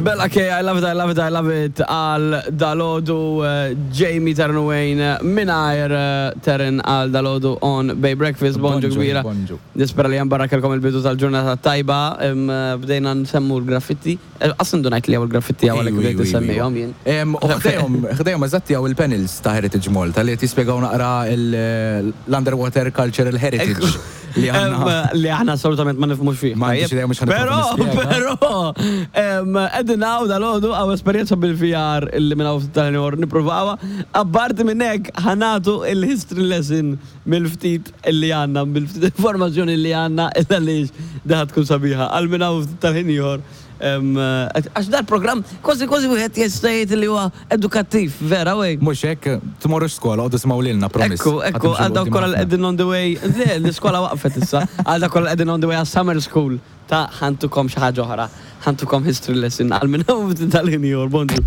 Bella K, I love it, I love it, I love it, għal dalodu eh, Jamie Ternuwejn mingħajr eh, Teren għal dalodu on Bay Breakfast, bonġu kbira. Nispera li barra kelkom il-bidu tal-ġurnata tajba, eh, bdejna nsemmu l-graffiti. Qas indunajt li hawn il-graffiti hawn għalhekk bdejt insemmihom jien. U ħdejhom, ħdejhom eżatti hawn il-panels ta' Heritage Malta li qed jispjegaw naqra l-underwater cultural heritage li għandna. Li aħna assolutament ma nifhmux fih. M'għandix idea mhux ħa Però, nipprova nispjega. però, qegħdin hawn dalgħodu hawn esperjenza bil-VR illi minn hawn ftit tal-ieħor nippruvawha. Apparti minn hekk ħa nagħtu il-history lesson mill-ftit illi għandna, mill-ftit informazzjoni li għandna illa għaliex di ħa tkun sabiħa għal minn hawn ftit tal-ħin ieħor. Għax dal-programm kważi kważi wieħed jista' jgħid li huwa edukattiv, vera wey? Mhux hekk, tmorrux skola, oqgħodu simgħu lilna, promise. Ekku, ekku, għal dawk kollha li qegħdin on the way, le, l-iskola waqfet issa, għal dawk kollha li qegħdin on the way għas-summer school ta' ħa ntukom xi ħaġa oħra, ħa ntukom history lesson għal minn hawn ftit tal-ħin ieħor, bonġu.